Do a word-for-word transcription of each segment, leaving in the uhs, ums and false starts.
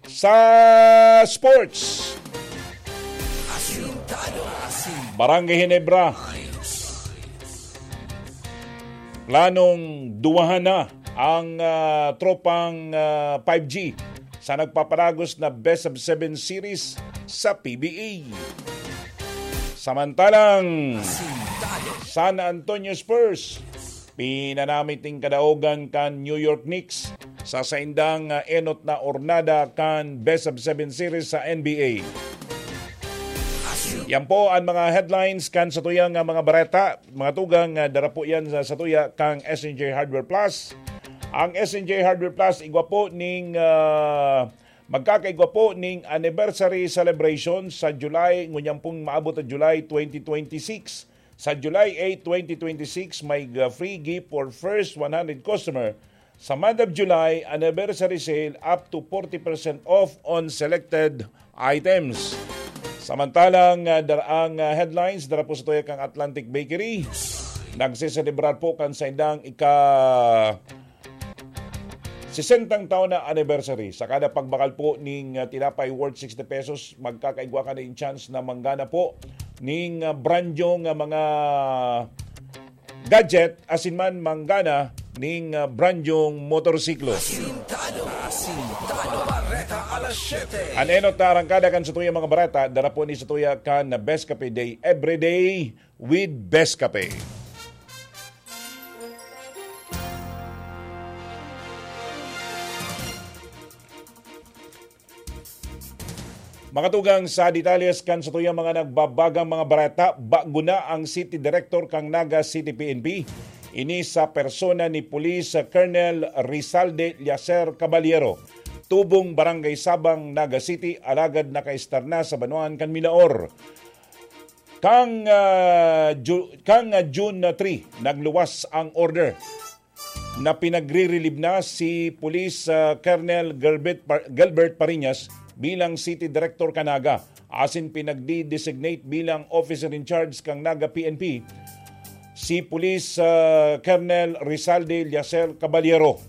Sa sports, Barangay Ginebra, planong duwahan na ang, ah, tropang, ah, five G sa nagpapalagos na Best of Seven Series sa P B A. Samantalang San Antonio Spurs, pinanamit nin kadaogan kan New York Knicks sa saindang, ah, enot na ornada kan Best of Seven Series sa N B A. Yan po ang mga headlines kan satuyang, ah, mga bareta. Mga tugang, ah, dara po yan sa, satuya kang S N J Hardware Plus. Ang S N J Hardware Plus, igwa po ning, ah, magkakaigwa po ning anniversary celebration sa July, ngunyan pong maabot na July twenty twenty-six. Sa July eight, twenty twenty-six, may, ah, free gift for first one hundred customer. Sa month of July, anniversary sale up to forty percent off on selected items. Samantalang, ah, dar-, ang, ah, headlines, dara po sa tuya kang Atlantic Bakery. Nagseselebrar po kan saindang ika sesentang taon na anniversary. Sa kada pagbakal po ning, ah, tinapay worth sixty pesos, magkakaigwa ka na in chance na manggana po ning, ah, brand new nga mga gadget, asin man manggana ning, ah, brand new motorsiklo. Asintado, asintado, bareta alas siyete. An enot na arangkada kan satuyang mga bareta, dara po ni satuya kan Best Cafe Day, everyday with Best Cafe. Makatugang sa detalles kan satuyang mga nagbabagang mga bareta, bago na ang City Director kan Naga City P N P. Ini sa persona ni Police Colonel Rizalde Liacer Caballero. Tubong Barangay Sabang, Naga City, alagad nakaestar na sa banwaan kan Milaor. Kang, ah, Ju-, kang, ah, June three, nagluwas ang order na pinagre-relieve na si Police, ah, Colonel Gilbert Par-, Gilbert Pariñas bilang City Director kan Naga, asin pinagdi-designate bilang Officer in Charge kan Naga P N P si Police, ah, Colonel Rizalde Liacer Caballero.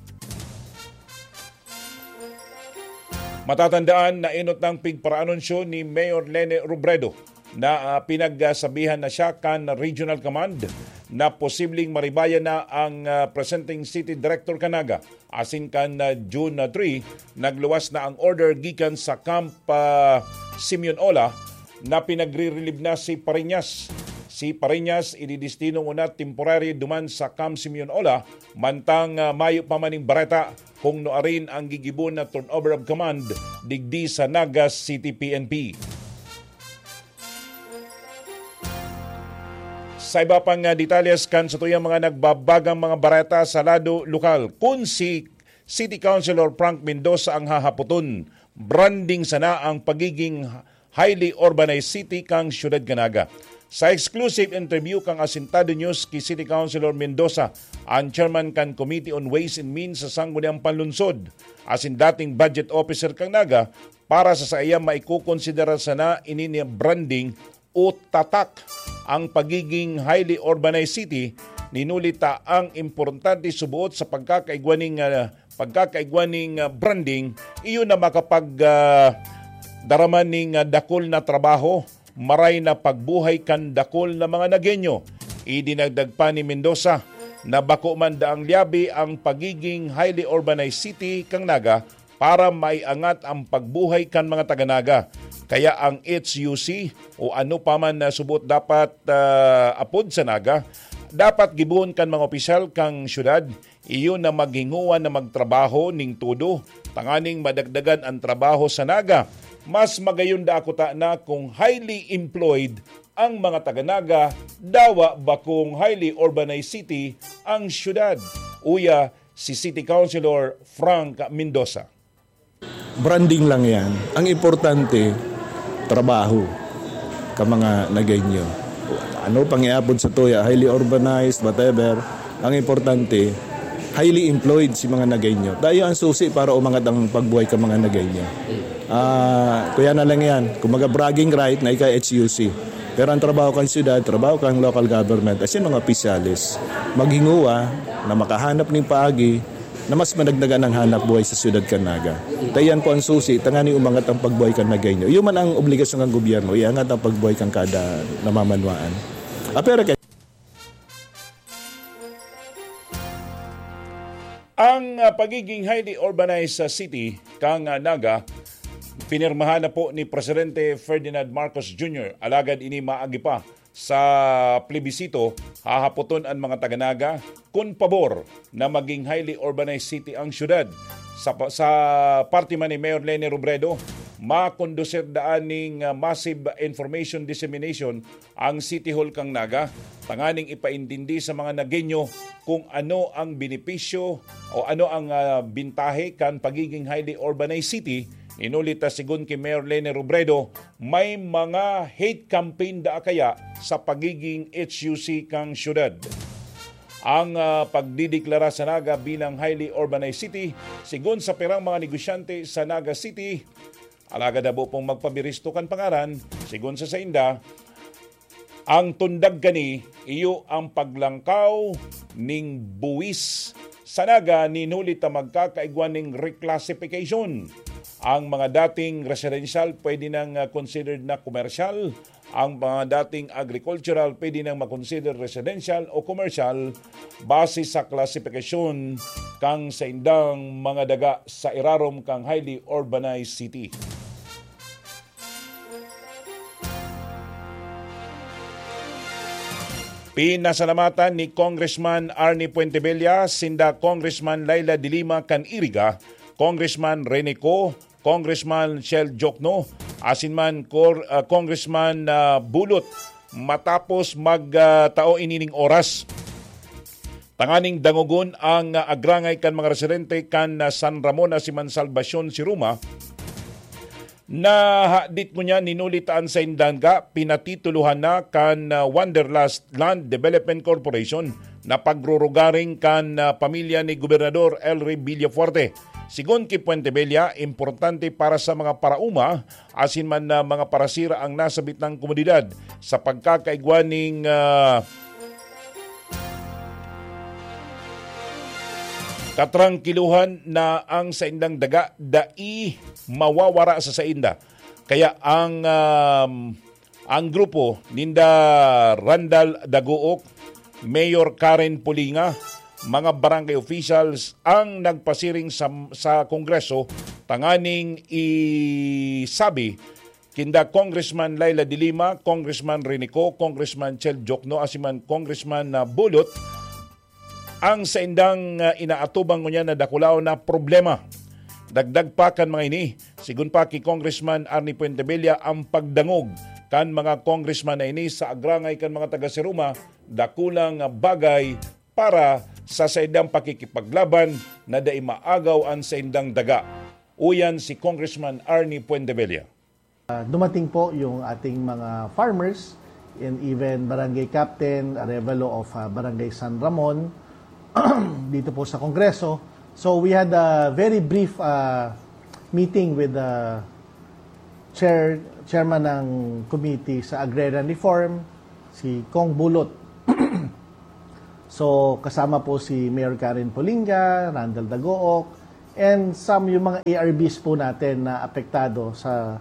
Matatandaan na enot nang pigparaanunsyo ni Mayor Lene Robredo na, ah, pinagsabihan na siya kan Regional Command na posibleng maribayan na ang, ah, presenteng City Director kan Naga. Asin kan, ah, June three, nagluwas na ang order gikan sa Camp, ah, Simeon Ola na pinagre-relieve na si Pariñas. Si Pariñas ididestino nguna temporary duman sa Camp Simeon Ola, mantang, ah, mayo pa man ning bareta kung nuarin ang gigibon na turnover of command digdi sa Naga City P N P. Sa iba pang, ah, detalles kan satuyang mga nagbabagang mga bareta sa lado lokal, kun si City Councilor Frank Mendoza ang hahapoton, branding sana ang pagiging highly urbanized city kan siyudad kan Naga. Sa exclusive interview kan Asintado News ki City Councilor Mendoza, ang chairman kan Committee on Ways and Means sa Sangguniang Panlunsod, asin dating budget officer kan Naga, para sa saiya maikokonsidera sana ini ni branding o tatak ang pagiging highly urbanized city, ninuli ta ang importante suboot sa pagkakaigwa ning, ah, pagkakaigwa ning, ah, branding, iyo na makapag, ah, darama ning, ah, dakul na trabaho, maray na pagbuhay kan dakul na mga Nagueño. Idinagdag pa ni Mendoza na bako man daang liyabe ang pagiging highly urbanized city kan Naga para maiangat ang pagbuhay kan mga taga Naga. Kaya ang H U C o ano pa man na suboot dapat, ah, apod sa Naga, dapat gibohon kan mga opisyal kan syudad, iyo na maghingowa na magtrabaho ning todo, tanganing madagdagan ang trabaho sa Naga. Mas magayon da ako ta na kung highly employed ang mga taga Naga, dawa bakong highly urbanized city ang syudad. Uya, si City Councilor Frank Mendoza. Branding lang yan. Ang importante, trabaho ka mga Nagueño. Ano pang iapod sa tuya, highly urbanized, whatever. Ang importante, highly employed si mga Nagueño. Tayo ang susi para umangat ang pagbuhay ka mga Nagueño. Ah, kuya na lang yan. Kumaga bragging right na ika H U C. Pero ang trabaho kan syudad, trabaho kan local government, as in mga opisyalis, maghinguwa na makahanap ning paagi na mas madagdagan ang hanap buhay sa siyudad kan Naga. Ta iyan po ang susi, tanganing umangat ang pagbuhay kan Nagueño. Iyo man ang obligasyon kan gobyerno, iangat ang pagbuhay kan kada namamanwaan. Apera kay Ang, ah, pagiging highly urbanized sa city kan, ah, Naga, pinirmahan na po ni Presidente Ferdinand Marcos Junior. Alagad ini maagi pa sa plebisito, hahapoton an mga taga-Naga kun pabor na maging highly urbanized city ang syudad. Sa pa-, sa parte man ni Mayor Leni Robredo, makondusir daan ning, ah, massive information dissemination ang City Hall kan Naga, tanganing ipaintindi sa mga Nagueño kung ano ang benepisyo o ano ang, ah, bintahe kan pagiging highly urbanized city. Inuli ta, sigon ki Mayor Leni Robredo, may mga hate campaign daa kaya sa pagiging H U C kan syudad. Ang, ah, pagdideklara sa Naga bilang highly urbanized city, sigon sa pirang mga negosyante sa Naga City, alagad habo pong magpabiristo kan pangaran, sigon sa sainda, ang tundag kani, iyo ang paglangkaw ning buwis sa Naga nin huli ta magkakaigwa ning reclassification. Ang mga dating residential pwede nang, ah, considered na komersyal, ang mga dating agricultural pwede nang makonsider residential o komersyal base sa klasifikasyon kan saindang mga daga sa irarom kan highly urbanized city. Pinasalamatan ni Congressman Arnie Fuentebella sinda Congressman Leila de Lima kan Iriga, Congressman Rene Co, Congressman Shell Jokno, asin man Cor-, ah, Congressman, ah, Bulot, matapos mag, ah, tao inining oras tanganing dangogon ang, ah, agrangay kan mga residente kan, ah, San Ramon asin man Salvacion Siruma, na hadit ngunyan hinuli ta an saindang daga pinatitulohan na kan, ah, Wanderlust Land Development Corporation na pagrurugaring kan, ah, pamilya ni Gobernador Elry Villafuerte. Sigon ki Fuentebella, importante para sa mga paraoma asin man na mga parasira ang nasabit nang komunidad sa pagkakaigwa ning, ah, katrangkiluhan na ang saindang daga dai mawawara sa sainda. Kaya ang, um, ang grupo ninda Randal Dagook, Mayor Karen Pulinga, mga barangay officials ang nagpasiring sa, sa Kongreso tanganing isabi kinda Congressman Leila de Lima, Congressman Rene Co, Congressman Chel Jokno, asin man Congressman, ah, Bulot, ang saindang, ah, inaatubang ngunyan na dakulaw na problema. Dagdag pa kan mga ini, sigon pa ki Congressman Arnie Fuentebella, ang pagdangog kan mga congressman na ini sa agrangay kan mga taga Siruma, dakulang, ah, bagay para sa saindang pakikipaglaban na dai maagaw an saindang daga. Uyan si Congressman Arnie Fuentebella. Ah, dumating po yung ating mga farmers and even barangay captain, Arevalo of, ah, Barangay San Ramon, dito po sa Kongreso. So we had a very brief, ah, meeting with the chair, chairman ng committee sa agrarian reform, si Cong Bulot. So, kasama po si Mayor Karen Polinga, Randall Dagook, and some yung mga A R Bs po natin na apektado sa,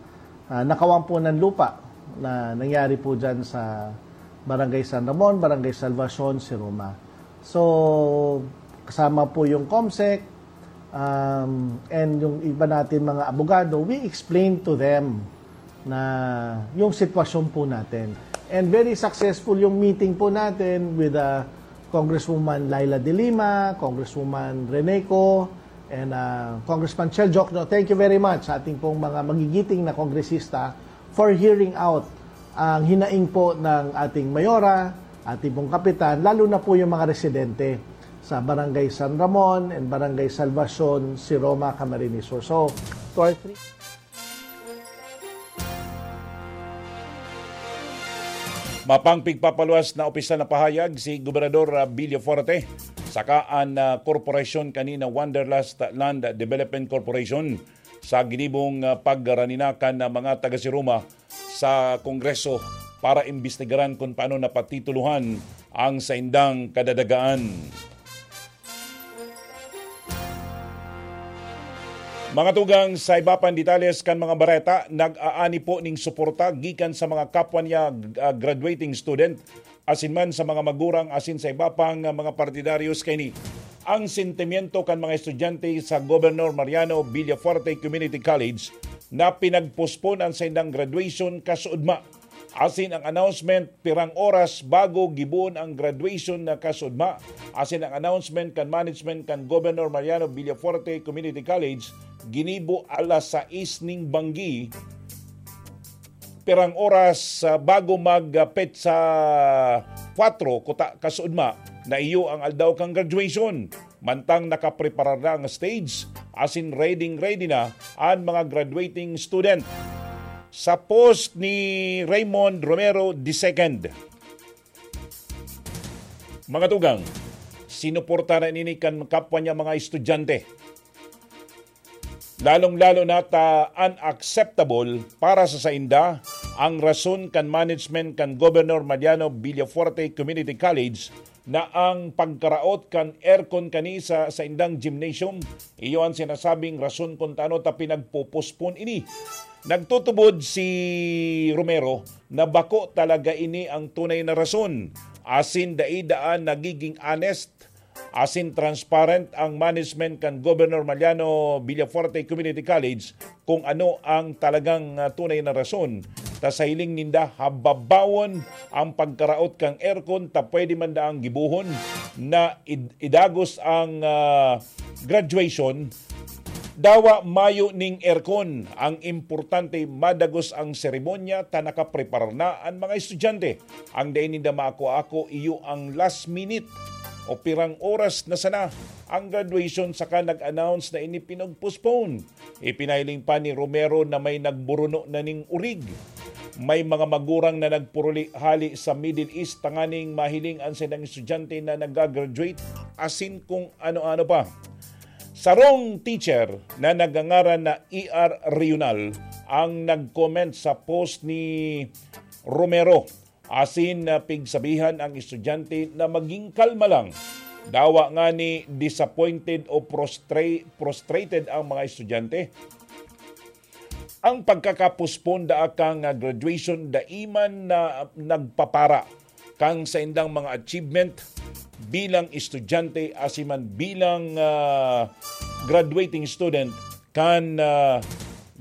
ah, nakawan po ng lupa na nangyari po dyan sa Barangay San Ramon, Barangay Salvacion, Siruma. So, kasama po yung COMSEC, um, and yung iba natin mga abogado, we explain to them na yung sitwasyon po natin. And very successful yung meeting po natin with, uh, Congresswoman Leila de Lima, Congresswoman Rene Co, and, uh, Congressman Chel Jokno. Thank you very much sa ating pong mga magigiting na kongresista for hearing out ang hinaing po ng ating mayora, ating pong kapitan, lalo na po yung mga residente sa Barangay San Ramon and Barangay Salvacion, Siroma, Camarines Sur. So, to our three Mapang pigpapaluwas na opisyal na pahayag si Gobernador, ah, Villafuerte saka an, ah, korporasyon kanina, Wanderlust Land Development Corporation, sa ginibong, ah, pagraninakan ng mga taga-Siruma sa Kongreso para imbestigaran kung paano napatitulohan ang saindang kadadagaan. Mga tugang, sa iba pang detalles kan mga bareta, nag-aani po ning suporta gikan sa mga kapwa niya, ah, graduating student, asin man sa mga magurang asin sa iba pang, ah, mga partidaryos kaini. Ang sentimiento kan mga estudyante sa Governor Mariano Villafuerte Community College na pinagpospon ang saindang graduation kasuodma. Asin ang announcement, pirang oras bago gibohon ang graduation na kasuodma. Asin ang announcement kan management kan Governor Mariano Villafuerte Community College, ginibo alas sais ning banggi, pirang oras, ah, bago mag, ah, petsa kwatro kuta kasuodma na iyo ang aldaw kan graduation. Mantang nakapreparar na ang stage, asin ready-ready na an mga graduating student. Sa post ni Raymond Romero the second. Mga tugang, sinuportaran ini kan kapwa niya mga estudyante. Lalong-lalo na ta unacceptable para sa sainda ang rason kan management kan Governor Mariano Villafuerte Community College na ang pagkaraot kan aircon kani sa saindang gymnasium, iyo an sinasabing rason kun tano ta pinagpopospon ini. Nagtutubod si Romero na bako talaga ini ang tunay na rason, asin dai daan nagiging honest asin transparent ang management kan Governor Mariano Villafuerte Community College kung ano ang talagang, ah, tunay na rason. Ta sa hiling ninda, hababawon ang pagkaraot kan aircon ta pwede man daang gibohon na id-, idagos ang, ah, graduation. Dawa mayo ning aircon. Ang importante, madagos ang seremonya ta nakapreparar na an mga estudyante. Ang dai ninda maako-ako iyo ang last minute o pirang oras na sana ang graduation saka nag-announce na ini pinag-postpone. Ipinahiling pa ni Romero na may nagburuno na ning urig. May mga magurang na nagpuruli hali sa Middle East tanganing mahiling an saindang estudyante na nag-graduate asin kung ano-ano pa. Sarong teacher na nagangaran na E R Reunal ang nag-comment sa post ni Romero. Asin na pigsabihan ang estudyante na maging kalma lang. Dawa ngani disappointed o prostra-, frustrated ang mga estudyante. Ang pagkakapostpone daa kan graduation dai man na nagpapara kan saindang mga achievement bilang estudyante asin man bilang, ah, graduating student kan, ah,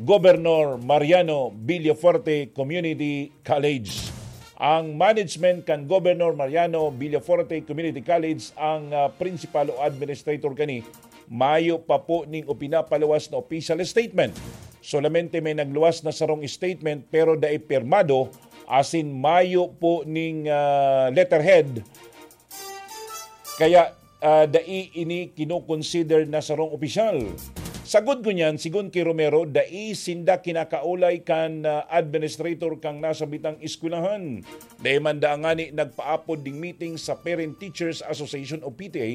Governor Mariano Villafuerte Community College. Ang management kan Governor Mariano Villafuerte Community College ang, ah, principal o administrator kani. Mayo pa po ning ipinapaluwas na official statement. Solamente may nagluwas na sarong statement pero dai pirmado asin mayo po ning, ah, letterhead. Kaya, ah, dai ini kinokonsider na sarong opisyal. Sagod ngunyan, sigon ki Romero, dai sinda kinakaulay kan, ah, administrator kan nasabitang eskwelahan. Dai man daa ngani nagpaapod ning meeting sa Parent Teachers Association o P T A,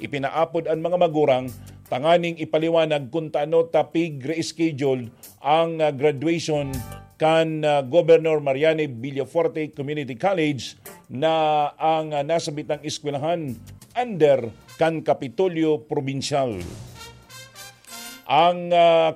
ipinaapod an mga magurang tanganing ipaliwanag kun tano ta pig-reschedule ang, ah, graduation kan, ah, Governor Mariano Villafuerte Community College na ang, ah, nasabitang eskwelahan under kan Kapitolyo Probinsyal. Ang, ah,